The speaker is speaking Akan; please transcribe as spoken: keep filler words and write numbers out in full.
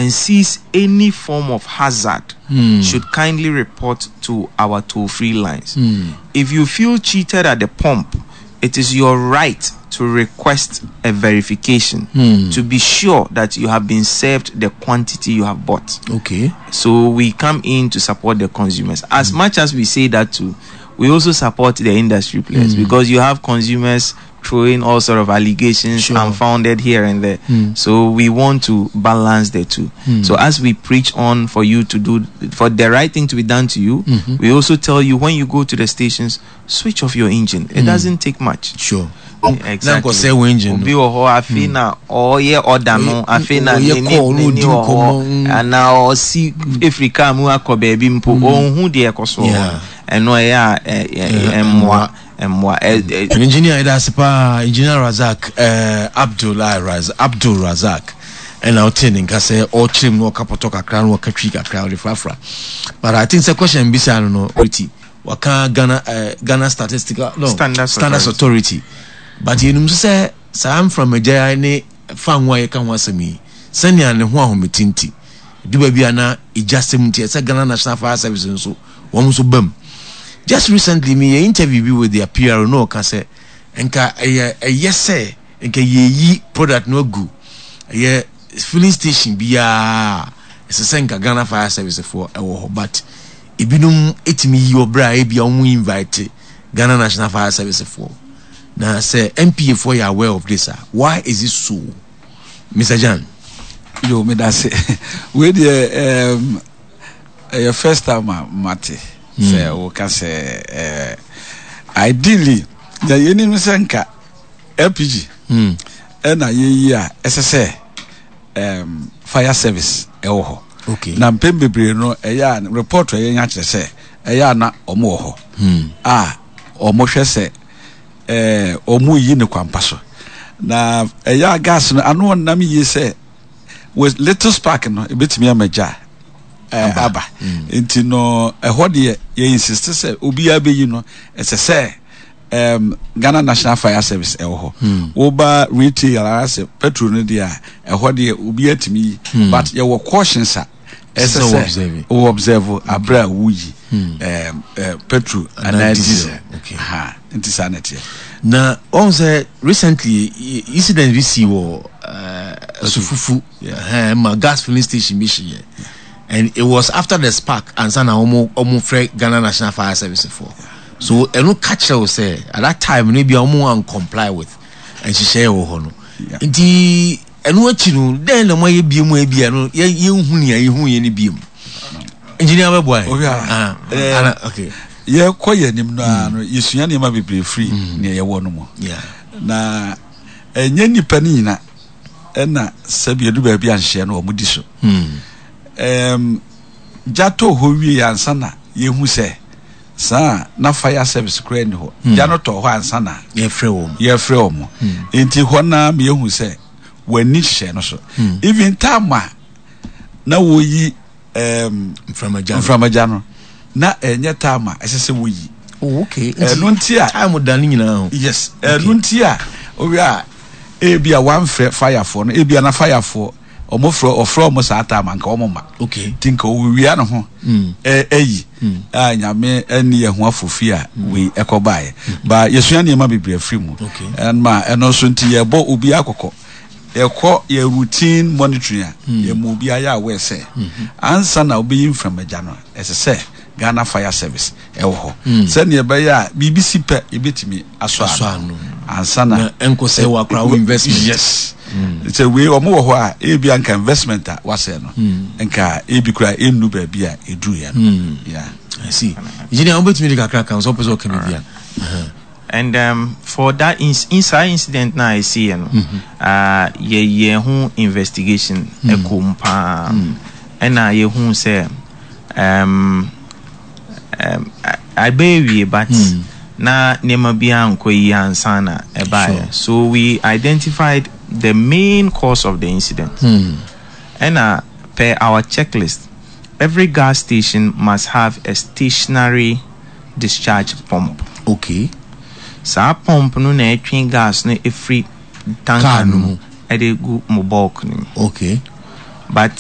and sees any form of hazard mm. should kindly report to our toll-free lines. Mm. If you feel cheated at the pump, it is your right to request a verification mm. to be sure that you have been served the quantity you have bought. Okay. So we come in to support the consumers. As mm. much as we say that too, we also support the industry players mm. because you have consumers throwing all sort of allegations sure. unfounded here and there. Mm. So we want to balance the two. Mm. So as we preach on for you to do for the right thing to be done to you, mm-hmm. we also tell you when you go to the stations, switch off your engine. It mm. doesn't take much. Sure. Exactly. Obi wɔ hɔ afei na ɔyɛ ɔda no afei na n'ani n'ani wɔ hɔ anaa ɔsi efiri kaa mu akɔ baabi mpo ɔnhu deɛ ɛkɔ so wɔ ɛno ɛyɛ a ɛmmoa mmoa. Engineer ɛda ase paa Engineer Razak ɛɛ Abdul Raz Abdul Razak ɛna ɔte ne nka sɛ ɔkyerɛ mu na ɔka pɔtɔ kakra na ɔka twi kakra ɔde frafra but I think sɛ question bisa no no authority waka Ghana ɛɛ Ghana Statistical no Standards, Standards Authority, Authority but yɛnum nso sɛ saa mframagya ne fango a yɛka ho asɛm yi sɛnea ne ho ahomete nti du baabi a na egya sɛm nti ɛsɛ Ghana National Fire Service nso wɔn nso bam just recently me yɛ interview bi with their PR no ɔka sɛ nka ɛyɛ ɛyɛ sɛ nka yɛyi product no agu ɛyɛ filling station biara ɛsɛ sɛ nka Ghana Fire Service foɔ ɛwɔ hɔ but ebinom etumi yi ɔbrɛ a ebi a wɔn invite Ghana National Fire Service foɔ na sɛ NPA foɔ yɛ aware of this ah why is it so Mr. Jan. yo medase wei deɛ um, ɛyɛ first time a mate sɛ woka sɛ uh, ideally deɛ yɛnim sɛ nka LPG Mm. ɛna yɛyi a ɛsɛ sɛ um, fire service ɛwɔ hɔ okay na mpɛn bebree no ɛyɛ a report a yɛnya kyerɛ sɛ ɛyɛ a na ɔmo wɔ hɔ Hmm. a ɔmo hwɛ sɛ ɛɛ ɔmo yi ne kwampa so na ɛyɛ a gas no ano ɔnam yie sɛ with little spark no ebetumi ama gya ɛɛ aba nti no ɛhɔ deɛ yɛ insist sɛ obiara bɛyi no ɛsɛ sɛ um, Ghana National Fire Service ɛwɔ hɔ woba retail anaasɛ petrol no deɛ a ɛhɔ deɛ obiara tumi yi but yɛwɔ cautions a ɛsɛ Sɛ wo sɛ observe. wo observe abere a woyi um, uh, petrol Anaa anaa diesel. diesel Okay. Ha, nti saa na ɛteɛ na ɔn sɛ recently i- incident bi si wɔ uh, sufufu Yeah. uh, ma gas filling station bi hyeɛ and it was after the spark ansa na ɔmo ɔmo frɛ ghana national fire service for so ɛno ka kyerɛ wo sɛ at that time no bi a ɔmo an comply with nhyehyɛeɛ wɔ hɔ no Yeah. nti ɛno akyi no dɛn na mo ayɛ bie mu ebi a no yɛ yɛnhu nea yɛhu yɛ no bie mu engineer bɛboa yɛ Oh, yeah. Ah, Eh, ana okay yɛkɔ yɛ anim no ara no yɛsua nneɛma bebree firi nea yɛwɔ no mu yeah na ɛnyɛ nnipa no nyina ɛna sɛbi edu baabi anhyɛ no wɔn di so hmm. ɛɛm gya tɔ hɔ wie ansa na yɛhu sɛ saa na fire service koraa ni hɔ gya no tɔ hɔ ansa na yɛfrɛ wɔn yɛfrɛ wɔn nti hɔ naa ma yɛhu sɛ wɔani hyehyɛ no so even time a na wɔyi ɛɛm mframagya no. mframagya no na ɛnyɛ time a ɛsɛ sɛ wɔyi oh okay ɛno nti a time da ne nyinaa ho yes ɛno nti a owi a ebi a wamfrɛ firefoɔ no ebi a na firefoɔ ɔmo frɛ ɔfrɛ ɔmo saa time anka ɔmo ma okay ti nka owia ne ho Mm. ɛ ɛyi a nyame ɛni yɛn ho afofi a wei ɛkɔ baeɛ ba yɛsua nneɛma bebree afiri mu Okay. ɛnma ɛno nso nti yɛbɔ obi akɔkɔ yɛkɔ yɛ routine monitoring a yɛmu obi ayɛ aware sɛ ansa na wobɛyi mframagya no ɛsɛ sɛ ghana fire service ɛwɔ hɔ sɛnea ɛbɛyɛ a biribi si pɛ yɛbɛtumi asɔ Asɔ ano ano. ansa na Na ɛnkɔ sɛ wakora wo investment. yes sɛ wei ɔmo wɔ hɔ a ebi anka investment a wasɛ no nka ebi kura enu baabi a eduru yɛ no yeah. I see engineer wobɛtumi de kakra ka sɛ wopɛ sɛ ɔka biribi a And um, for that ins- inside incident na I see, you know, uh, yɛ yɛ ho investigation ɛkɔ mu paa ɛna yɛhu sɛ um, um, abɛyɛ wie but na nneɛma bi ankɔ yie ansa na ɛbaeɛ Sure. so we identified the main cause of the incident ɛna per our checklist every gas station must have a stationary discharge pump okay saa pump no na ɛtwe gas no ɛfiri Car tanker no no mu. mu ɛde gu mo bulk no mu okay but